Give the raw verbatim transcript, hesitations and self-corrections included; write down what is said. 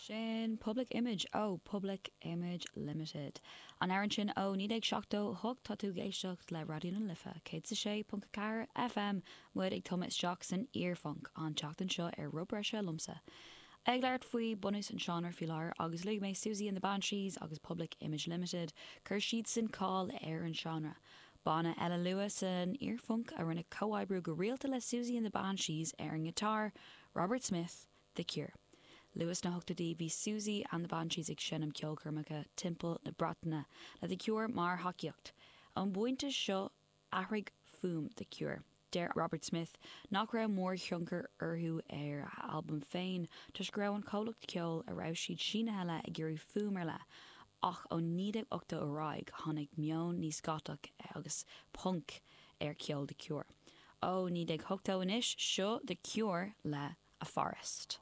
Sin Public Image ó Public Image Limited. An amhrán sin ó naoi déag seachtó hocht tá tú ag éisteacht le Raidió na Life céad is a sé ponc a ceathair FM muid ag tumadh isteach san iarphunc an tseachtain seo ar Rud Breise liomsa. Ag labhairt faoi bunús an seánra faoi láthair agus luaigh mé Siouxsie and the Banshees agus Public Image Limited chuir siad sin cáil ar an seánra. Banna eile luath san iarphunc a rinne comhoibriú go rialta le Siouxsie and the Banshees ar an ngiotár, Robert Smith, The Cure. Luath sna hochtóidí bhí Siouxsie and the Banshees ag seinm ceolchoirmeacha timpeall na Breataine le The Cure mar thacaíocht. Ón bpointe seo athraigh fuaim The Cure. Deir Robert Smith nach raibh mórthionchar orthu ar a albam féin toisc go raibh an comhlacht ceoil a raibh siad sínithe le ag iarraidh fuaim ar leith, ach ó naoi déag ochtó ar aghaidh tháinig meon níos gotach agus punk ar cheol The Cure. Ó naoi déag ochtó anois seo The Cure le A Forest.